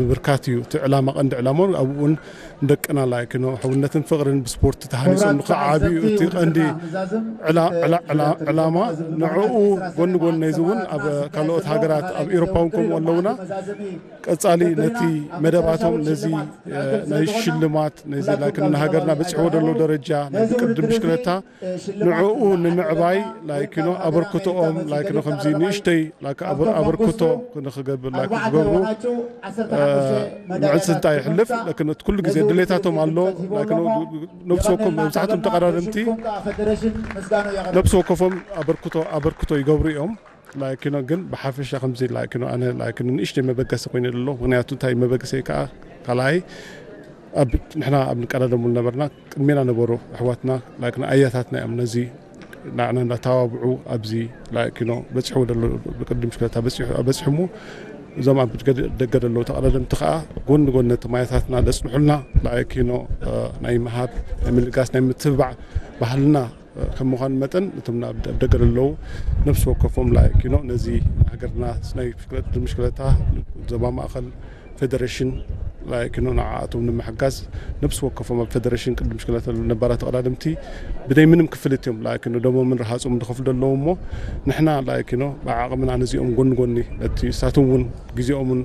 ምብርካት እዩ እቲ ዕላማ፣ ቀንዲ ዕላማ ኣብኡን ደቅና ላይክ ነው ሕውነትን ፍቕርን ብስፖርት ተሃኒጾም ንኽዓብዩ እቲ ቀንዲ ዕላ- ዕላ- ዕላ- ዕላማ። ንዕኡ ጎኒ ጎኒ ነዚ እውን ኣብ ካልኦት ሃገራት ኣብ ኤሮፓ እውን ከምኡ ኣለውና። ቀጻሊ ነቲ መደባቶም ነዚ ናይ ሽልማት ነዚ ላይክ ንሃገርና በጺሕዎ ዘሎ ደረጃ ናይ ቅድም ብሽክለታ ንዕኡ ንምዕባይ ላይክ ነው ኣበርክቶኦም ላይክ ነው ከምዚ ንእሽተይ ላይክ ኣበርክቶ ንኽገብር ላይክ ክገብሩ ምዕንስንታ ይሕልፍ። ላይክ ነው ኩሉ ግዜ ድሌታቶም ኣሎ። ላይክ ነው ነብሲ ወከፎም መብዛሕትኦም ተቐዳደምቲ ነብሲ ወከፎም ኣበርክቶ ኣበርክቶ ይገብሩ እዮም። ላይክ ነው ግን ብሓፈሻ ከምዚ ላይክ ነው ኣነ ላይክ ነው ንእሽተይ መበገሲ ኮይኑ ዘሎ። ምክንያቱ እንታይ መበገሲ ከዓ ካልኣይ ኣብ ንሕና ኣብ ንቀዳደሙ ነበርና ቅድሜና ነበሩ ኣሕዋትና ላይክ ነው ኣያታትና እዮም ነዚ ንዓና እንዳተባብዑ ኣብዚ ላይክ ነው በፂሑ ዘሎ ብቅድም ሽክለታ በፂሑ በፂሑ እሞ እዞም ኣብ ደገ ዘለዉ ተቐዳደምቲ ከዓ ጎኒ ጎኒ ነቶም ኣያታትና ዘፅንሑልና ላይክ ነው ናይ ምሃብ ናይ ምልጋስ ናይ ምትብባዕ ባህልና ከም ምዃኑ መጠን እቶም ኣብ ደገ ዘለዉ ነብሲ ወከፎም ላይክ ነው ነዚ ሃገርና ናይ ቅድም ሽክለታ ዞባ ማእኸል ፌደሬሽን ላይክ ነው ንዓኣቶም ንምሕጋዝ ነብሲ ወከፎም ኣብ ፌደሬሽን ቅድም ሽክለታ ነባራት ተቐዳደምቲ ብደይ ምንም ክፍልት እዮም ላይክ ነው ደሞምን ረሃፆም ዝኸፍሉ ዘለዉ እሞ ንሕና ላይክ ነው ብዓቕምና ነዚኦም ጎኒ ጎኒ ነቲ እሳቶም እውን ግዜኦምን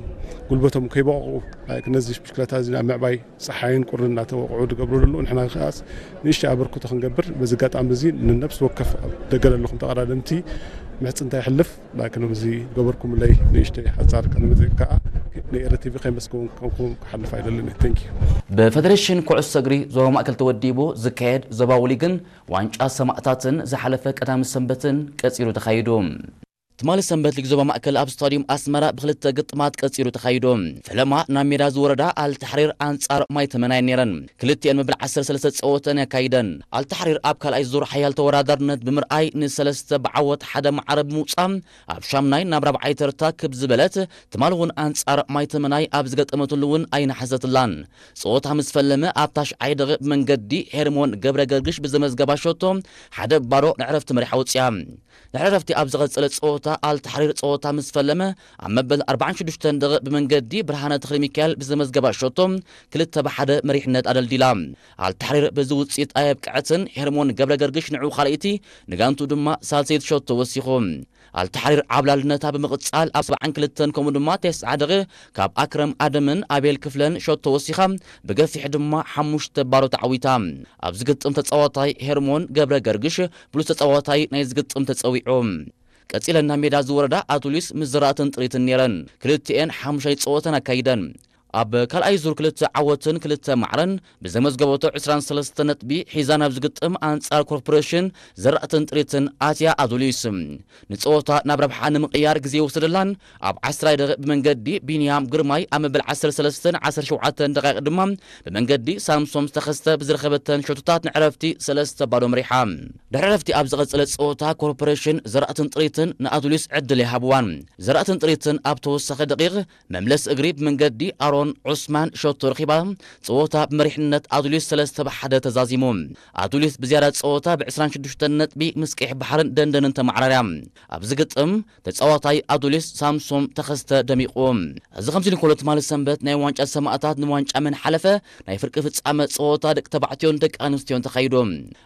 ጉልበቶም ከይበቕቑ ላይክ ነዚ ብሽክለታ እዚ ኣብ ምዕባይ ፀሓይን ቁርን እናተወቕዑ ዝገብሩ ዘለዉ ንሕና ከዓስ ንእሽተይ ኣበርክቶ ክንገብር በዚ ኣጋጣሚ እዚ ንነብሲ ወከፍ ኣብ ደገ ዘለኹም ተቐዳደምቲ ምሕፅንታ ይሕልፍ ላይክ ነዚ ገበርኩምለይ ንእሽተይ ሓፃር ቃለ መጠይቅ ከዓ ንኤረ ቲቪ ከይመስገን ከምኩም ክሓልፍ ኣይደልን። Thank you። ብፌደሬሽን ኩዕሶ እግሪ ዞባ ማእከል ተወዲቡ ዝካየድ ዞባዊ ሊግን ዋንጫ ሰማእታትን ዝሓለፈ ቀዳሚ ሰንበትን ቀፂሉ ተኻይዱ። ትማሊ ሰንበት ሊግ ዞባ ማእከል ኣብ ስታዲየም ኣስመራ ብክልተ ግጥማት ቀፂሉ ተኻይዱ። ፈለማ ናብ ሜዳ ዝወረዳ ኣልታሕሪር ኣንጻር ማይ ተመናየን ነይረን። ክልቲኤን መበል ዓሰርተ ሰለስተ ጸወተን ኣካይደን። ኣልታሕሪር ኣብ ካልኣይ ዙር ሓያል ተወዳዳርነት ብምርኣይ ንሰለስተ ብዓወት ሓደ ማዕረ ብምውጻእ ኣብ ሻምናይ ናብ ራብዓይ ተርታ ክብ ዝበለት ትማሊ እውን ኣንጻር ማይ ተመናይ ኣብ ዝገጠመትሉ እውን ኣይነሓሰትላን። ጸወታ ምስ ፈለመ ኣብ ታሽዓይ ደቂቕ ብመንገዲ ሄርሞን ገብረ ገርግሽ ብዘመዝገባ ሸቶ ሓደ ባዶ ንዕረፍቲ መሪሓ ወጽያ። ድሕሪ ዕረፍቲ ኣብ ዝቐጸለ ጸወታ ኣልታሕሪር ጸወታ ምስ ፈለመ ኣብ መበል ኣርባዓን ሽዱሽተን ደቂቕ ብመንገዲ ብርሃነ ተኽለሚካኤል ብዘመዝገባ ሸቶ ክልተ ብሓደ መሪሕነት ኣደልዲላ። ኣልታሕሪር በዚ ውጽኢት ኣየብቅዐትን ሄርሞን ገብረ ገርግሽ ንዕኡ ካልኣይቲ ንጋንቱ ድማ ሳልሰይቲ ሸቶ ወሲኹ። ኣልታሕሪር ዓብላልነታ ብምቕጻል ኣብ ሰብዓን ክልተን ከምኡ ድማ ተስዓ ደቂቕ ካብ ኣክረም ኣደምን ኣቤል ክፍለን ሸቶ ወሲኻ ብገፊሕ ድማ ሓሙሽተ ባዶ ተዓዊታ። ኣብዚ ግጥም ተጻዋታይ ሄርሞን ገብረ ገርግሽ ብሉጽ ተጻዋታይ ናይ ዝግጥም ተጸዊዑ። ቀጺለን ናብ ሜዳ ዝወረዳ ኣቱሊስ ምስ ዘራእትን ጥሪትን ነይረን። ክልቲኤን ሓሙሻይ ጸወተን ኣካይደን። ኣብ ካልኣይ ዙር ክልተ ዓወትን ክልተ ማዕረን ብዘመዝገበቶ ዕስራን ሰለስተን ነጥቢ ሒዛ ናብ ዝግጥም ኣንጻር ኮርፖሬሽን ዘራእትን ጥሪትን ኣትያ ኣቱሊስ ንጸወታ ናብ ረብሓ ንምቕያር ግዜ ይወሰደላን ኣብ ዓስራይ ደቂቕ ብመንገዲ ቢንያም ግርማይ ኣብ መበል ዓሰርተ ሰለስተን ዓሰርተ ሸውዓተን ደቂቕ ድማ ብመንገዲ ሳምሶም ዝተኸስተ ብዝረኸበተን ሸቶታት ንዕረፍቲ ሰለስተ ባዶ መሪሓ። ድሕሪ ዕረፍቲ ኣብ ዝቐጸለ ጸወታ ኮርፖሬሽን ዘራእትን ጥሪትን ንኣቱሊስ ዕድል ይሃብዋን። ዘራእትን ጥሪትን ኣብ ተወሳኺ ደቂቕ መምለስ እግሪ ብመንገዲ ኣሮን ዑስማን ሸቶ ረኺባ ጸወታ ብመሪሕነት ኣቱሊስ ሰለስተ ብሓደ ተዛዚሙ። ኣቱሊስ ብዝያዳ ጸወታ ብ ዕስራን ሽዱሽተን ነጥቢ ምስ ቀይሕ ባሕርን ደንደንን ተመዓራርያ። ኣብዚ ግጥም ተጻዋታይ ኣቱሊስ ሳምሶም ተኸስተ ደሚቑ። እዚ ከምዚ ንኮሎ ትማሊ ሰንበት ናይ ዋንጫ ሰማእታት ንዋንጫ መን ሓለፈ ናይ ፍርቂ ፍጻመ ጸወታ ደቂ ተባዕትዮን ደቂ ኣንስትዮን ተኻይዱ።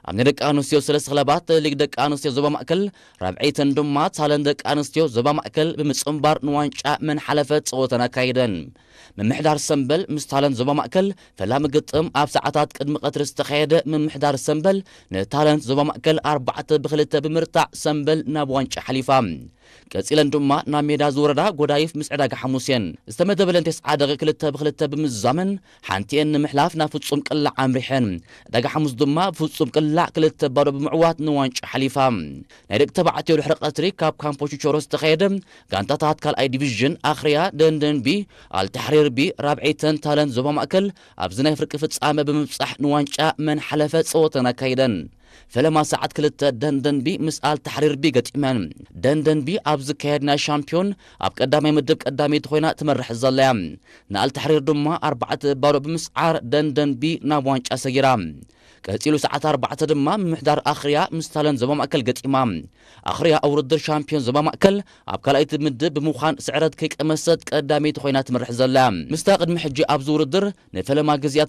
ኣብ ናይ ደቂ ኣንስትዮ ሰለስተ ክለባት ሊግ ደቂ ኣንስትዮ ዞባ ማእከል ራብዐይተን ድማ ታለን ደቂ ኣንስትዮ ዞባ ማእከል ብምጽንባር ንዋንጫ መን ሓለፈ ጸወተን ኣካይደን። ምምሕዳር ሰምበል ምስ ታለንት ዞባ ማእከል ፈላሚ ግጥም ኣብ ሰዓታት ቅድሚ ቀትሪ ዝተኻየደ ምምሕዳር ሰምበል ንታለንት ዞባ ማእከል ኣርባዕተ ብክልተ ብምርታዕ ሰምበል ናብ ዋንጫ ሓሊፋ። ቀጺለን ድማ ናብ ሜዳ ዝወረዳ ጎዳይፍ ምስ ዕዳጋ ሓሙስ እየን ዝተመደበለን ተስዓ ደቂ ክልተ ብክልተ ብምዝዛመን ሓንቲኤን ንምሕላፍ ናብ ፍጹም ቅላዕ ኣምሪሐን። ዕዳጋ ሓሙስ ድማ ብፍጹም ቅላዕ ክልተ ባዶ ብምዕዋት ንዋንጫ ሓሊፋ። ናይ ደቂ ተባዕትዮ ድሕሪ ቀትሪ ካብ ካምፖ ቹቾሮ ዝተኻየደ ጋንታታት ካልኣይ ዲቪዥን ኣኽርያ ደንደን ቢ፣ ኣልታሕሪር ቢ፣ ራብዐይተን ታለንት ዞባ ማእከል ኣብዚ ናይ ፍርቂ ፍጻመ ብምብጻሕ ንዋንጫ መን ሓለፈ ጸወተን ኣካይደን። ፈለማ ሰዓት ክልተ ደንደን ቢ ምስ ኣልታሕሪር ቢ ገጢመን። ደንደን ቢ ኣብ ዝካየድ ናይ ሻምፒዮን ኣብ ቀዳማይ ምድብ ቀዳመይቲ ኮይና ትመርሕ ዘላ እያ። ንኣልታሕሪር ድማ ኣርባዕተ ባዶ ብምስዓር ደንደን ቢ ናብ ዋንጫ ሰጊራ። ቀጺሉ ሰዓት ኣርባዕተ ድማ ምምሕዳር ኣኽርያ ምስ ታለን ዞባ ማእከል ገጢማ። ኣኽርያ ኣብ ውድድር ሻምፒዮን ዞባ ማእከል ኣብ ካልኣይቲ ምድብ ብምዃን ስዕረት ከይቀመሰት ቀዳመይቲ ኮይና ትመርሕ ዘላ። ምስታ ቅድሚ ሕጂ ኣብዚ ውድድር ንፈለማ ግዜያት